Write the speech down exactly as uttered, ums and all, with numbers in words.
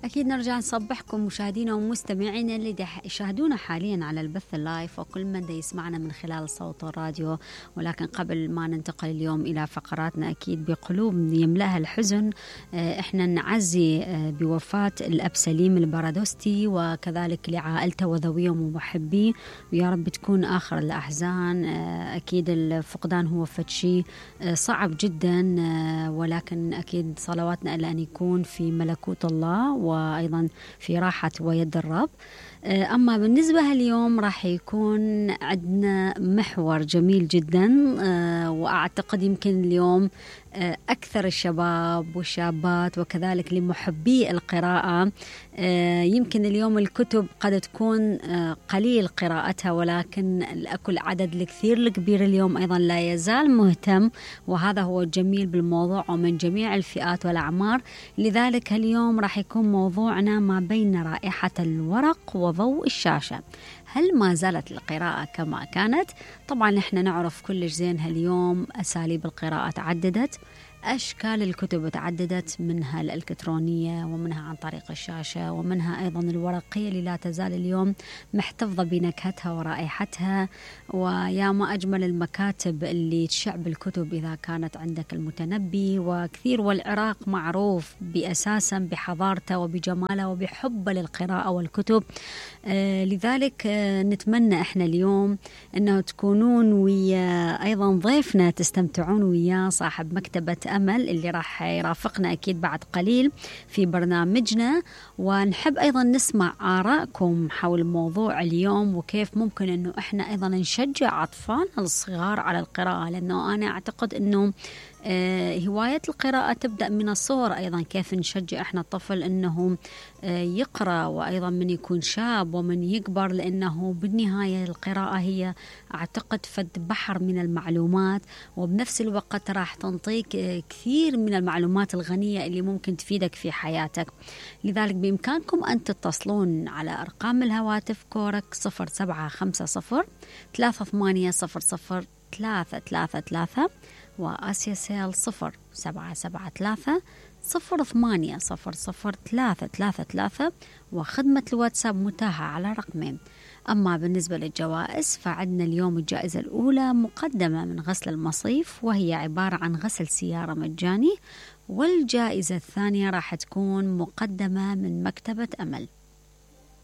أكيد نرجع نصبحكم مشاهدينا ومستمعينا اللي يشاهدونا حاليا على البث اللايف وكل من دا يسمعنا من خلال صوت الراديو. ولكن قبل ما ننتقل اليوم إلى فقراتنا أكيد بقلوب يملأها الحزن، إحنا نعزي بوفاة الأب سليم البرادوستي وكذلك لعائلته وذويه ومحبيه، ويا رب تكون آخر الأحزان. أكيد الفقدان هو فشي صعب جدا، ولكن أكيد صلواتنا إلى أن يكون في ملكوت الله وأيضا في راحة ويد الرب. أما بالنسبة اليوم راح يكون عندنا محور جميل جدا، وأعتقد يمكن اليوم أكثر الشباب والشابات وكذلك لمحبي القراءة، يمكن اليوم الكتب قد تكون قليل قراءتها، ولكن الأكل عدد الكثير الكبير اليوم أيضا لا يزال مهتم، وهذا هو الجميل بالموضوع ومن جميع الفئات والأعمار. لذلك اليوم راح يكون موضوعنا ما بين رائحة الورق وضوء الشاشة. هل ما زالت القراءة كما كانت؟ طبعا احنا نعرف كلش زين هاليوم أساليب القراءة تعددت، أشكال الكتب تعددت، منها الإلكترونية ومنها عن طريق الشاشة ومنها أيضا الورقية اللي لا تزال اليوم محتفظة بنكهتها ورائحتها. ويا ما أجمل المكاتب اللي تشع بالكتب إذا كانت عندك المتنبي وكثير، والعراق معروف بأساسا بحضارته وبجماله وبحبه للقراءة والكتب. آه لذلك آه نتمنى إحنا اليوم أنه تكونون ويا أيضا ضيفنا تستمتعون وياه صاحب مكتبة أمل اللي راح يرافقنا أكيد بعد قليل في برنامجنا، ونحب أيضا نسمع آراءكم حول موضوع اليوم وكيف ممكن أنه إحنا أيضا نشجع أطفالنا الصغار على القراءة، لأنه أنا أعتقد أنه آه هواية القراءة تبدأ من الصغر. أيضا كيف نشجع إحنا الطفل أنه آه يقرأ، وأيضا من يكون شاب ومن يكبر، لأنه بالنهاية القراءة هي أعتقد فد بحر من المعلومات، وبنفس الوقت راح تنطيك آه كثير من المعلومات الغنية اللي ممكن تفيدك في حياتك. لذلك بإمكانكم أن تتصلون على أرقام الهواتف كورك صفر سبعة خمسة صفر ثلاثة ثمانية صفر صفر ثلاثة ثلاثة ثلاثة، وآسيا سيل صفر سبعة سبعة ثلاثة صفر ثمانية صفر صفر ثلاثة ثلاثة ثلاثة، وخدمة الواتساب متاحة على رقمين. أما بالنسبة للجوائز فعندنا اليوم الجائزة الأولى مقدمة من غسل المصيف، وهي عبارة عن غسل سيارة مجاني، والجائزة الثانية راح تكون مقدمة من مكتبة أمل.